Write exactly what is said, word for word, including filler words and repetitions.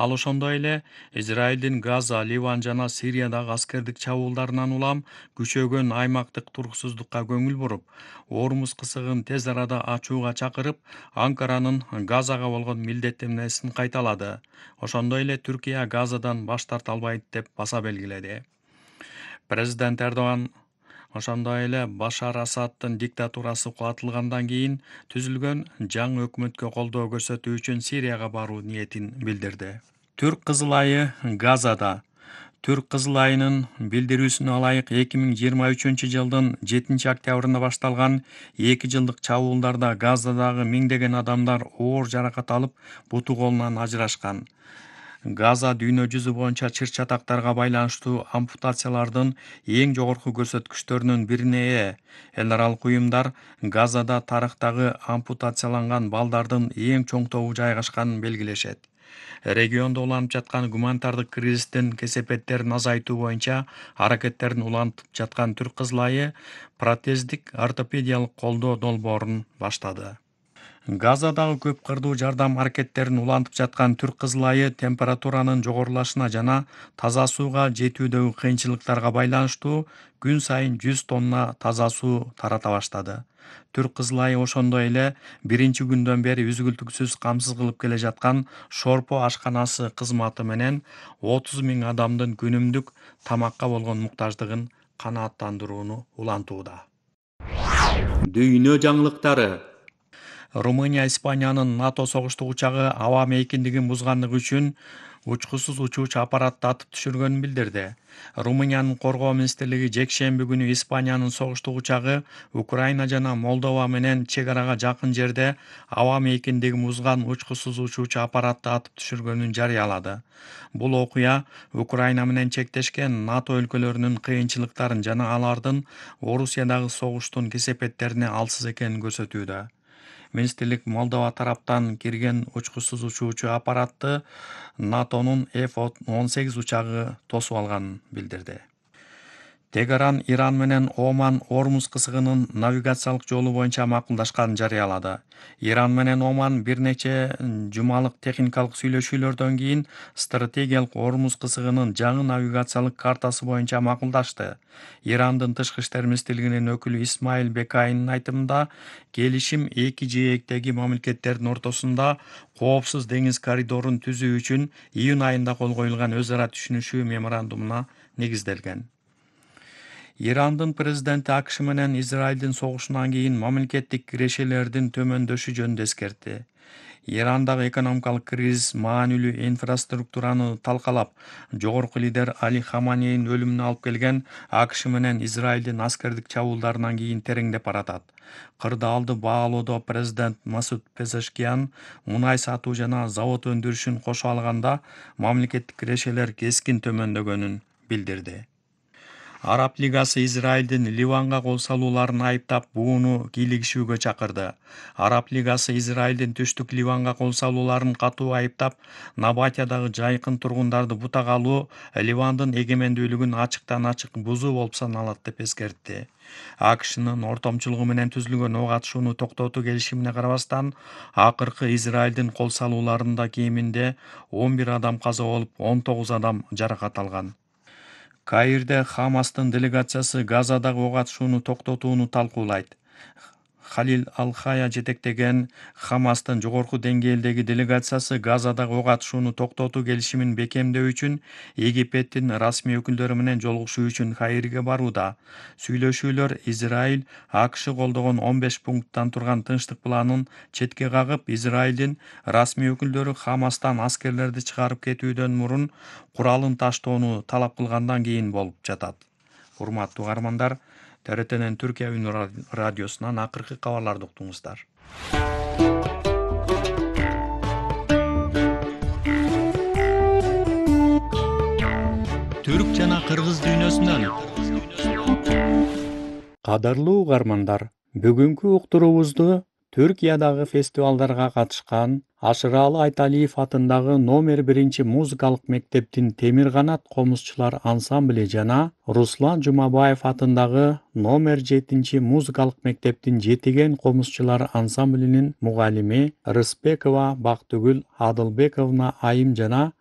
Ал ошондой эле Израилдин Газа, Ливан жана Сириядагы аскердик чабуулдарынан улам күчөгөн аймактык туруксуздукка көңүл буруп, Ормуз кысыгын тез арада ачууга чакырып, Анкаранын Газага болгон милдеттенмесин кайталады. Ошондой эле Түркия Газадан баш тарта албайт деп баса белгиледи. Президент Эрдоган ошондой эле Башар Асаддын диктатурасы кулатылгандан кийин түзүлгөн жаңы өкмөткө колдоо көрсөтүү үчүн Сирияга баруу ниетин билдирди. Түрк Кызыл айы Газада. Түрк Кызыл айынын билдирүүсүнө ылайык эки миң жыйырма үчүнчү жылдын жетинчи октябрында башталган эки жылдык чабуулдарда Газадагы миңдеген адамдар оор жаракат алып, буту колунан ажырашкан. Газа дүйнө жүзү боюнча чыр-чатактарга байланыштуу ампутациялардын эң жогорку көрсөткүчтөрүнүн бирине ээ. Эл аралык уюмдар Газада тарыхтагы ампутацияланган балдардын эң чоң тобу жайгашканын белгилешет. Региондо уланып жаткан гуманитардык кризистин кесепеттерин азайтуу боюнча аракеттерин улантып жаткан Түрк Кызыл айы протездик ортопедиялык колдоо долбоорун баштады. Газадагы көп кырдуу жардам аракеттерин улантып жаткан Түрк Кызыл айы температуранын жогорулашына жана таза сууга жетүүдөгү кыйынчылыктарга байланыштуу күн сайын жүз тонна таза суу тарата баштады. Түрк Кызыл айы ошондой эле биринчи күндөн бери үзгүлтүксүз камсыз кылып келе жаткан Шорпо ашканасы кызматы менен отуз миң адамдын күнүмдүк тамакка болгон муктаждыгын канааттандырууну улантууда. Дүйнө жаңылыктары. Румыния Испаниянын НАТО согуштук учагы аба мейкиндигин бузгандыгы үчүн учкусуз учуучу аппаратты атып түшүргөнүн билдирди. Румыниянын коргоо министрлиги жекшемби күнү Испаниянын согуштук учагы Украина жана Молдова менен чек арага жакын жерде аба мейкиндигин бузган учкусуз учуучу аппаратты атып түшүргөнүн жарыялады. Бул окуя Украина менен чектешкен НАТО өлкөлөрүнүн кыйынчылыктарын жана алардын Орусиядагы согуштун кесепеттерине алсыз экенин көрсөтүүдө. Министрлик Молдова тараптан кирген учкусуз учуучу аппаратты НАТОнун эф он сегиз учагы тосуп алганын билдирди. Тегеран Иран менен Оман Ормуз кысыгынын навигациялык жолу боюнча макулдашканын жарыялады. Иран менен Оман бир нече жумалык техникалык сүйлөшүүлөрдөн кийин стратегиялык Ормуз кысыгынын жаңы навигациялык картасы боюнча макулдашты. Ирандын тышкы иштер министрлигинин өкүлү Исмаил Бекайнын айтымында, келишим эки жээктеги мамлекеттердин ортосунда коопсуз деңиз коридорун түзүү үчүн июнь айында кол коюлган өз ара түшүнүшүү меморандумуна негизделген. Ирандын президенти АКШ менен Израилдин согушунан кийин мамлекеттик кирешелердин төмөндөшү жөнүндө эскертти. Ирандагы экономикалык кризис маанилүү инфраструктураны талкалап, жогорку лидер Али Хаманейдин өлүмүнө алып келген АКШ менен Израилдин аскердик чабуулдарынан кийин тереңдеп баратат. Кырдаалды баалоодо президент Масуд Пезешкиян мунай сатуу жана завод өндүрүшүн кошо алганда мамлекеттик кирешелер кескин төмөндөгөнүн билдирди. Араб Лигасы Израилдин Ливанга кол салууларын айыптап, бууну кийлигишүүгө чакырды. Араб Лигасы Израилдин түштүк Ливанга кол салууларын катуу айыптап, Набатиядагы жайкын тургундарды бутага алуу Ливандын эгемендүүлүгүн ачыктан-ачык бузуу болуп саналат деп эскертти. АКШнын ортомчулугу менен түзүлгөн ок атышууну токтотуу келишимине карабастан, акыркы Израилдин кол салууларында кеминде он бир адам каза болуп, он тогуз адам жаракат алган. Каирде Хамастын делегациясы Газадагы ок атышууну токтотууну талкуулайт. Халил Ал-Хая жетектеген Хамастын жогорку деңгээлдеги делегациясы Газадагы ок атышууну токтотуу келишимин бекемдөө үчүн Египеттин расмий өкүлдөрү менен жолугушуу үчүн Каирге барууда. Сүйлөшүүлөр Израиль АКШ колдогон он беш пункттан турган тынчтык планын четке кагып, Израилдин расмий өкүлдөрү Хамастан аскерлерди чыгарып кетүүдөн мурун куралын таштоону талап кылгандан кийин болуп жатат. Урматтуу угармандар, Т Р Тнин Түркия үнү радиосунан акыркы кабарларды уктуңуздар. Түрк жана кыргыз дүйнөсүнөн. Кадырлуу угармандар, бүгүнкү уктуруубузду Түркиядагы фестивалдарга катышкан Ашыралы Айталиев атындагы номер биринчи музыкалык мектептин Темир канат комузчулар ансамбли жана Руслан Жумабаев атындагы номер жетинчи музыкалык мектептин Жетиген комузчулар ансамблинин мугалими Рыспекова Бактыгүл Адылбековна айым жана